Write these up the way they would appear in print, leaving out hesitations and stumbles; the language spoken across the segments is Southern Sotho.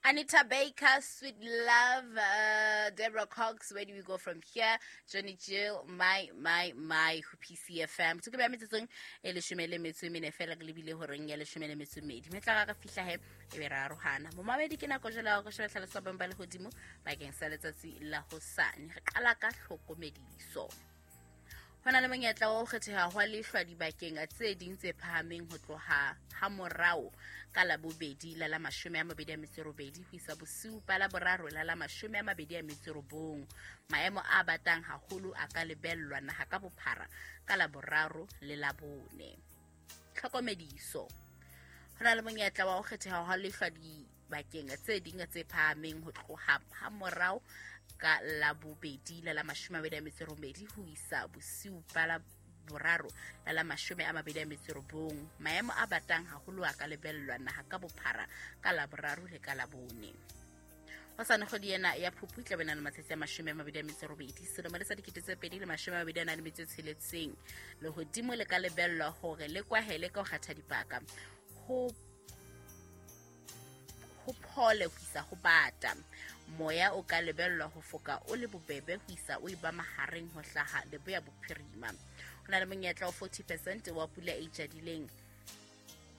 Anita Baker, Sweet Love, Deborah Cox, Where Do We Go From Here, Johnny Gill, My, My, My, ho PCFM. Tsoko ba metsotsong e leshome le metso e mene fela re lebile horeng ya leshome le metso e mmedi. Mme tla re fihla he e be re arohana. Momamedi ke nako jwale ya hore shebe tlhaloso ya bang ba lehodimo bakeng sa letsatsi la hosane. Re qala ka tlhokomediso. Ho na le monyetla wa ho kgetheha hwa lehlwa dibakeng tse ding tse phahameng ho tloha ha morao ka Labobedi la la 28 ho isa bosiu ba Laboraro la la 29. Maemo a batang haholo a ka lebellwa naha ka bophara ka Laboraro le Labone. Tlhokomediso. Ho na le monyetla wa ho kgetheha hwa lehlwa dibakeng tse ding tse phahameng ho tloha ha morao ka Labobedi la la 28 ho isa bosiu ba Laboraro la la 29. Maemo a batang haholo a ka lebellwa naha ka bophara ka Laboraro le ka Labone. Hosane kgwedi ena ya Phupu e tla be na le matsatsi a 28 selemo le sa 2026. Lehodimo le ka lebellwa hore le kwahele ka ho kgetha dibaka ho ho phole ho isa ho bata. Moya o ka lebellwa ho foka o le bobebe ho isa o eba mahareng ho hlaha leboya bophirima. Ho na le monyetla wa 40% wa pula e jadileng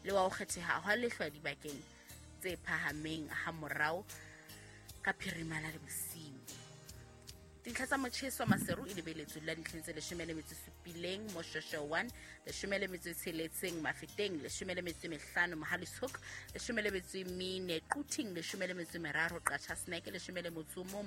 le wa ho kgetheha hwa lehlwa dibakeng tse phahameng ha morao ka phirimana le bosiu. Dintlha tsa motjheso Maseru e lebeletswe la dintlheng tse 17, Moshweshwe 1 16, Mafeteng 15, Mohale's Hoek 14, Quthing 13, Qacha's Nek 11,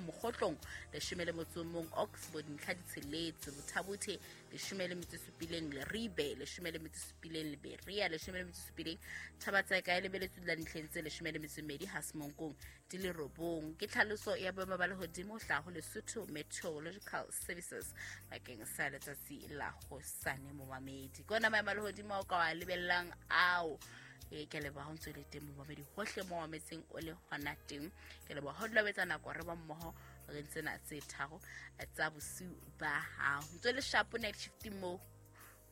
Mokhotlong 11, Oxford dintlha di tsheletse, Botha-Bothe 17, Leribe 17, Liberia 17, Thaba-Tseka e lebeletswe la dintlheng tse 12, Hasmonkong di le 9. Ke tlhaloso ya boemo ba lehodimo hlaho Lesotho Meteorological Services bakeng sa letsatsi la hosane. Momamedi, ke ona maemo a lehodimo ao ka wa lebellang ao. E ke leboha ho ntse le teng momamedi hohle mo mametseng o le hona teng. Ke leboha ho dula o etsa nako re ba mmoho re ntsena tse tharo tsa bosiu ba hao. Ntse le sharp night shift mo.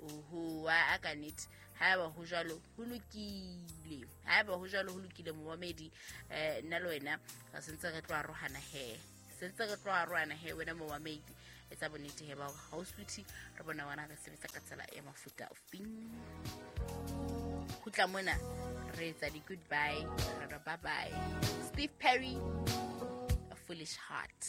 Oho, a ka nnete. Haeba ho jwalo ho lokile, haeba ho jwalo ho lokile momamedi. Nna le wena re sentse re tlo arohana he, sentse re tlo arohana he. Wena momamedi, etsa bonnete he ba hore ha o suthe re bona wena re sebetsa ka tsela ya mofuta ofeng. Kgutla mona re etsa di-goodbye, re re bye bye. Steve Perry, A Foolish Heart.